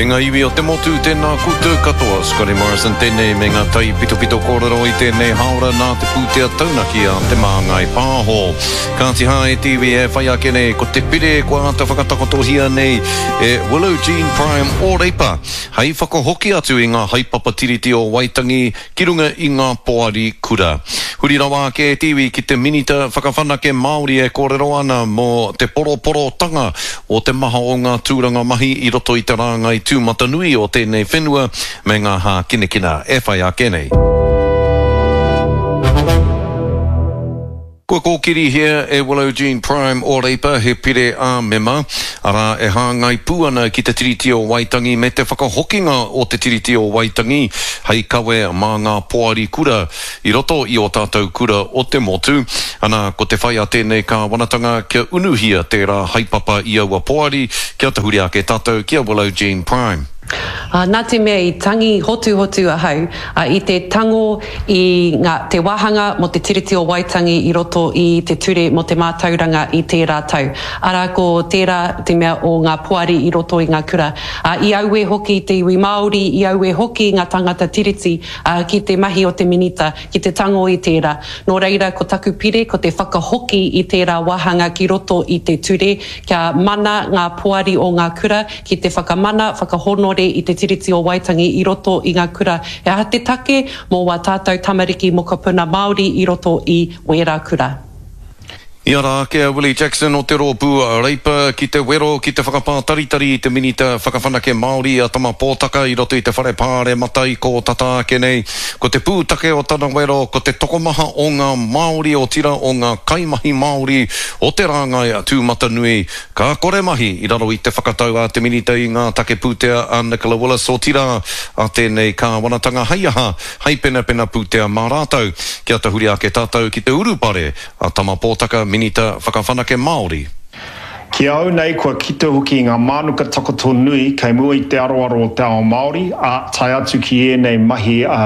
E ngā iwi o te motu, tēnā koutou katoa. Scotty Morrison tēnei me ngā taipitopito kōrero i tēnei hāora nā te pūtea taunaki a Te Māngai Pāho. Kāti hā e te iwi e whai ake nei ko te pire kua āta whakatakotohia nei e Willow Jean Prime o Reipa hei whakahoki atu i ngā haepapa Tiriti o Waitangi ki runga i ngā poari kura. Huri rawa ake e te iwi ki te Minita Whakawhanake Māori e kōrero ana mō te poroporotanga o te maha o ngā tūranga mahi i roto i te rāngai tūmatanui o tēnei whenua me ngā hākinakina e whai ake nei. Kua kōkirihia e Willow Jean Prime o Reipa he pire ā-mema, arā, e hāngai pū ana ki te Tiriti o Waitangi me te whakahokinga o te Tiriti o Waitangi hei kawe mā ngā poari kura i roto i ō tātou kura o te motu. Ana, ko te whai a tēnei kāwanatanga kia unuhia tērā haepapa i aua poari kia tahuri ake tātou ki a Willow Jean Prime. Ā, nā te mea i tangi hotuhotu ahau, ā, i te tango i ngā, te wāhanga mō te Tiriti o Waitangi i roto i te Ture mō te Mātauranga i tērā tau. Arā, ko tērā te mea o ngā poari i roto i ngā kura. Ā, i auē hoki te iwi Māori, i auē hoki ngā tāngata Tiriti, ā, ki te mahi o te Minita, ki te tango i tērā. Nō reira, ko taku pire, ko te whakahoki i tērā wāhanga ki roto i te ture, kia mana ngā poari o ngā kura, ki te whakamana, whakahōnore i te Tiriti o Waitangi i roto i ngā kura. He aha te take mō wā tātou tamariki mokopuna Māori i roto i wērā kura? I ara ake a Willie Jackson o te Rōpū Reipa ki te wero ki te whakapātaritari i te Minita Whakawhanake Māori a Tama Pōtaka i roto i te Whare Pāremata i kō tata ake nei. Ko te pūtake o tana wero ko te tokomaha o ngā Māori otirā o ngā kaimahi Māori o te rāngai tūmatanui Ka kore mahi i raro i te whakatau a te Minita i ngā Take Pūtea a Nicola Willis, otirā, a tēnei Kāwanatanga hei aha, hei penapena pūtea mā rātou. Kia tahuri ake tātou ki te urupare a Tama Pōtaka, Minita Whakawhanake Māori. Ki a au nei kua kite hoki i ngā mānuka takoto nui kei mua i te aroaro o te ao Māori, ā, tae atu ki ēnei mahi ā,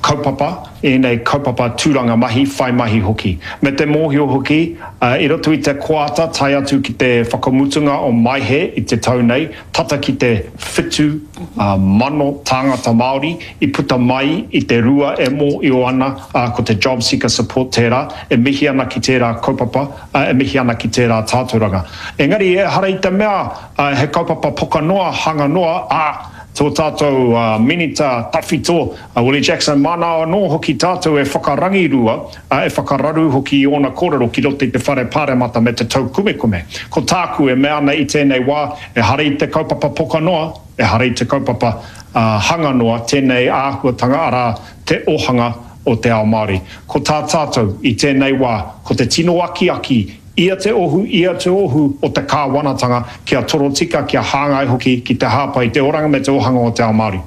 kaupapa, ēnei kaupapa tūranga mahi, whai mahi hoki. Me te mōhio hoki, i roto i te koata tae atu ki te whakamutunga o Maehe i te tau nei, tata ki te 7,000 tāngata Māori i puta mai i te rua e mōhio ana ko te JobSeeker Support tērā, e mihi ana ki tērā kaupapa, e mihi ana ki tērā tātauranga. Engari ehara i te mea he kaupapa poka noa, hanga noa, ā, tō tātou Minita tawhito, A Willie Jackson, Māna anō hoki tātou e whakarangirua, ā, e whakararu hoki i ōna kōrero ki roto i te Whare Pāremata me te taukumekume. Ko tāku e mea ana i tēnei wā, ehara i te kaupapa poka noa, ehara i te kaupapa hanga noa tēnei āhuatanga, arā, te ohanga o te ao Māori. Ko tā tātou i tēnei wā, ko te tino akiaki ia te ohu, ia te ohu o te kāwanatanga kia torotika, kia hāngai hoki ki te hāpai i te oranga me te ohanga o te ao Māori.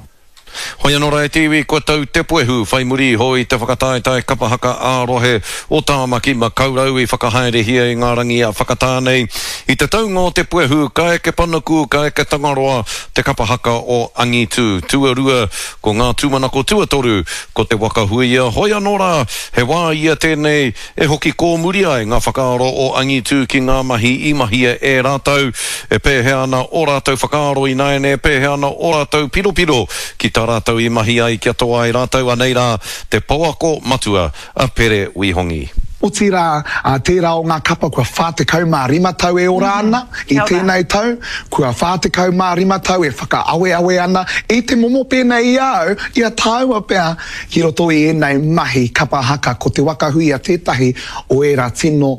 Hoi anō rā e te iwi, kua tau te puehu whai muri iho i te whakataetae kapa haka ā-rohe o Tāmaki Makaurau i whakahaerehia i ngā rangi a whakatā nei. I te taunga o te puehu, ka eke panuku, ka eke Tangaroa te kapa haka o Angitu. Tuarua, ko ngā tūmanako tuatoru, ko te waka huia. Hoi anō rā, he wā ia tēnei E hoki kōmuri ai ngā whakaaro o Angitu ki ngā mahi i mahia e rātou, e pēhea ana ō rātou whakaaro ināiane, e pēhea ana ō rātou piropiro ki tā rātou i mahi ai kia toa ai rātou, anei rā te pouako matua a Pere Wihongi. Otirā, tērā o ngā kapa kua 45 tau e ora ana i tēnei tau, kua 45 tau e whakaaweawe ana i te momo pēnei i a au, i a tāua pea, Ki roto i ēnei mahi kapa haka ko Te Waka Huia tētahi o ērā tino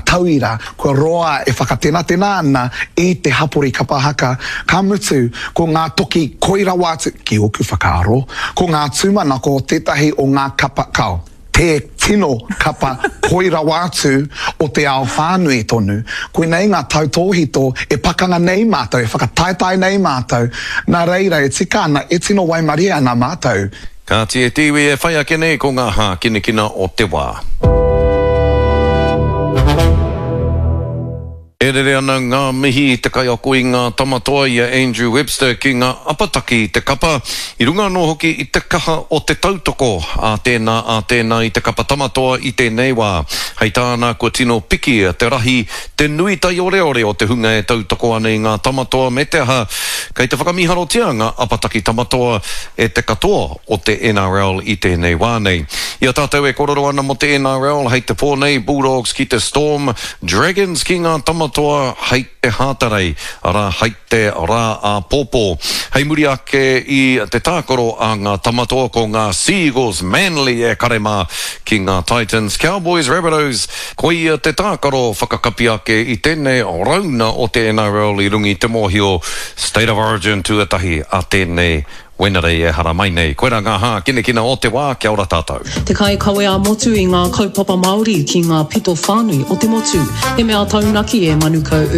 tauira kua roa e whakatenatena ana i te hapori kapa haka, ka mutu ko ngā toki koi rawa atu, ki ōku whakaaro, ko ngā tūmanako tētahi o ngā kapa, kao, te tino kapa koi rawa atu o te ao whānui tonu. Koinei ngā tautōhito e pakanga nei mātou, e whakataetae nei mātou, nā reira e tika ana, e tino waimarie ana mātou. Kāti e te iwi e whai ake nei ko ngā hākinakina o te wā. E rere ana ngā mihi i te kaiako i ngā tama toa i a Andrew Webster ki ngā apataki i te kapa, i runga anō hoki i te kaha o te tautoko a tēnā a tēnā i te kapa tama toa i tēnei wā. Hei tāna kua tino piki te rahi, te nui taioreore o te hunga e tautoko ana i ngā tama toa me te aha. Kei te whakamīharotia ngā apataki tamatoa e te katoa o te NRL i tēnei wā nei. I a tātou e kōrero ana mō te NRL hei te pō nei, Bulldogs ki te Storm, Dragons ki ngā tamatoa hei te Hātarei, arā, hei te rā āpōpō. Hei muri ake i te tākaro a ngā tamatoa ko ngā Sea Eagles, Manly e kare mā ki ngā Titans, Cowboys, Rabbitohs, Koia te tākaro whakakapi ake i tēnei rauna o te NRL i runga i te mōhio State of Origin tuatahi a tēnei Wenerei e haramai nei. Koirā ngā hākinakina o te wā, kia ora tātou. Te kaikawe ā-motu i ngā kaupapa Māori ki ngā pito whānui o te motu. He mea taunaki e Manukau.